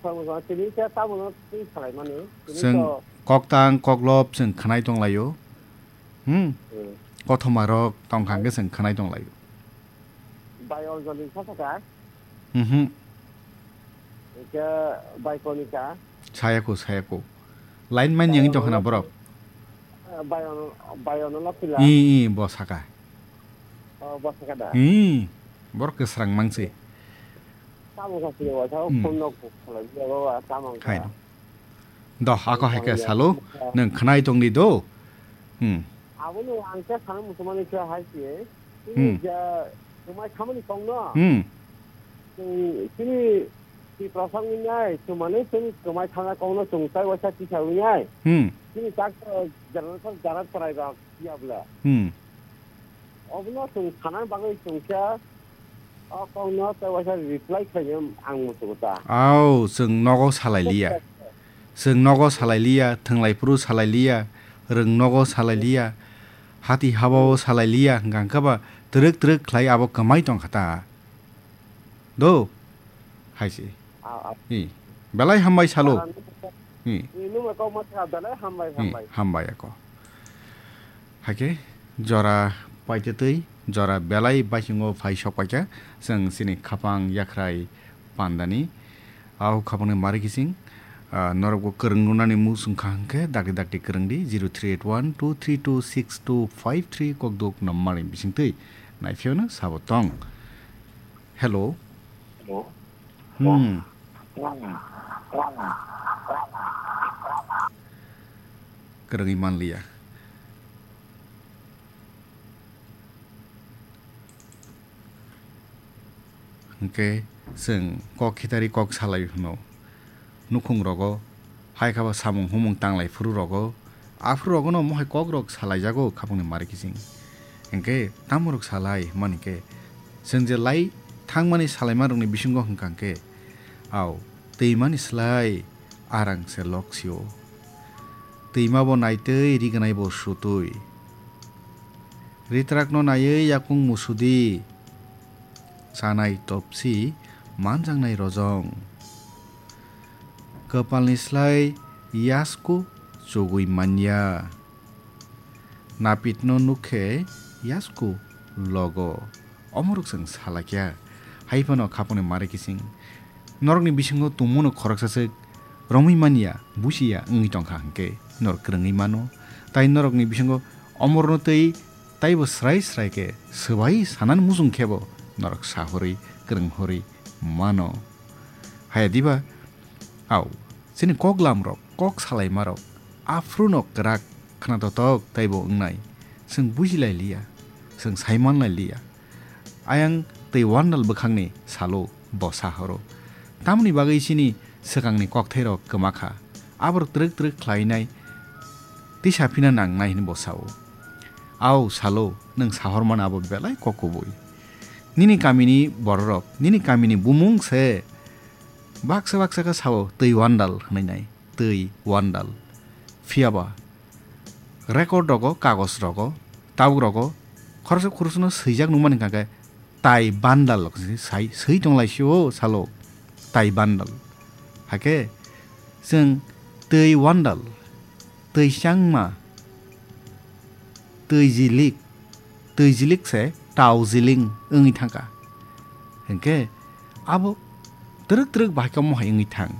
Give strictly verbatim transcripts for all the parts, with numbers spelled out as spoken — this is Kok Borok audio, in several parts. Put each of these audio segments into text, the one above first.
Tamo tini khe tamo no twi salai mani. Tini Chwng to koktang koklop chwng khwnai tong laio. Hmm. Hmm. Kothoma rok tong kha hwnkhe chwng khwnai tong laio. Bai Anjali sa saka. Mhm. Ika bai Konika. Sayako, sayako. Line man yang tong khana borok. Bai Ono, bai Ono Lapila. I, i, bo saka. Oh, bo saka da. I, borok kwsrang mangsi. Tamo kha sini wasa, Hmm. phone nok khalai, ya, baba, tamo kha. Hai no. Doh, ako hai khe salo, nwng khwnai tongdi do. Hmm. Abono ang khe sana muchungmani khe hai se, chini Hmm. ja kwmai khamani kongno, Hmm. chwng chini Tiprasa wngwi nai, chwng mane chini kwmai khana kongno chwng tai waisa tisa wngwi nai. Hmm. Chini tak jara jara chwrai rok ya bwle. Hmm. Obono chwng sana bagwi chwng khe o kokno tei waisa reply khlainai ang muchungo ta. Au, chwng nogo salai liya. Chwng nogo salai liya, thwnglai phuru salai liya, rwng nogo salai liya, hati habao salai liya, hwnkha hwnkhe ba twrwk twrwk khlai abo kwmai tong kha ta. Do, hai se. Ah, ah. Hi. Belai hambai salo. Ah, Hi. Hi, nung kok ma kha belai hambai, Hi, hambai. Hambai ako. Hakhe jora paitwtwi, jora belai baisingo phai sok paikha, chwng chini khapang yakhrai pandani. Au khapangni mari kising, ah, norokbo kwrwng rwnani muchung kha hwnkhe dakti dakti kwrwngdi, zero three eight one two three two six two five three kokduk numberni bisingtwi naiphiyano sabo tong. Hello. Hello. Hmm. Kwrwngwi manliya. Hwnkhe chwng kok khitari kok salai hwno. Nukhung rogo, hai kha ba samung humung tanglai phuru rogo, aphuru rogo no mohai kok rok salai jago khapangni mari kising. Hwnkhe tamo rok salai hwnmani khe, chwng je lai thangmani salaima rokni bisingo hwnkha hwnkhe, au, twimani slai arang se lok sio. Twima bo naitwi, rignai bo sutwi. Ritrakno naiwi yakung musudi, chanai topsi, manjaknai rojong. Kwpalni slai yasku chugui manya. Napitno nukhe yasku logo. Omorok chwng salakya. Hai phano khapangni mari kising. Norokni bisingo tongmano khoroksa swk romwi manya, busiya wngwi tongkha hwnkhe norok kwrwngwi mano. Tai norokni bisingo omorno twi taibo srai srai khe swbai sanani muchung khebo norok sahorwi kwrwng horwi mano. Haya diba? Au, chini kok lamrok, kok salaimarok, aphruno kwrak khwnatok taibo wngnai. Chwng bujilai liya, chwng saimanlai liya. Ayang twi wandal bwkhakni salo bo sahoro. Tamoni bagwi chini swkangni kokthairok kwma kha. Aborok twrwk twrwk khlainai tisa phina nangnai hwnwi bo sao. Au salo, nwng sahormani abo belai kok kubui. Nini kamini bororok, nini kamini bumung se baksa baksa khe sao twi wandal hwnwi nai, twi wandal. Phiyaba record rogo, kagoj rogo, tabuk rogo khoroksa khoroksa no swijak nukmani hwnkha khe tai bandal sai swi tonglaisio salo tai bandal. Hakhe chwng twi wandal, twi changma, twi jilik, twi jilik se tau jiling wngwi thangkha. Hinkhe abo twrwk twrwk bahai khe mohai wngwi thang.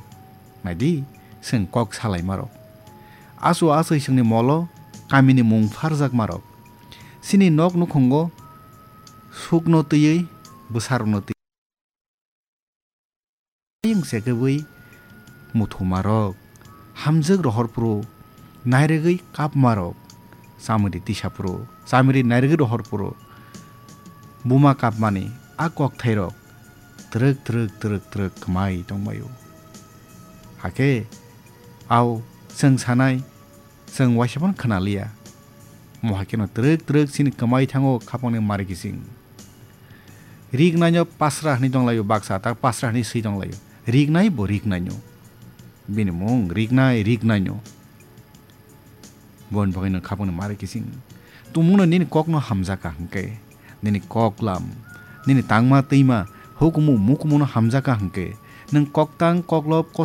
Naidi, chwng kok salaimarok. Achu achai chwngni molo kamini mung pharjakmarok. Chini nok nukhungo sukno twiwi bwsarokno twi. Ayang se kwbwi muthumarok, hamjwk rohor phuru, nairwgwi kapmarok, chamiri tisa phuru, chamiri nairwgwi rohor phuru, buma kapmani a kokthairok twrwk twrwk twrwk twrwk kwmai tongbaio. Hakhe, ao chwng sanai, chwng waisa phano khwnaliya. Mohai kheno twrwk twrwk chini kwmai thango khapangni mari kising. Riknaino pasra hwnwi tonglaio baksa, ta pasra hwnwi swi tonglaio. Riknai bo riknaino. Bini mung riknai, riknaino. Boni bagwino khapangni mari kising. Tumungno nini kokno hamjakha hwnkhe, nini koklam, nini tangma twima, hukumu mukumuno hamjakha hwnkhe, nwng koktang koklop kothoma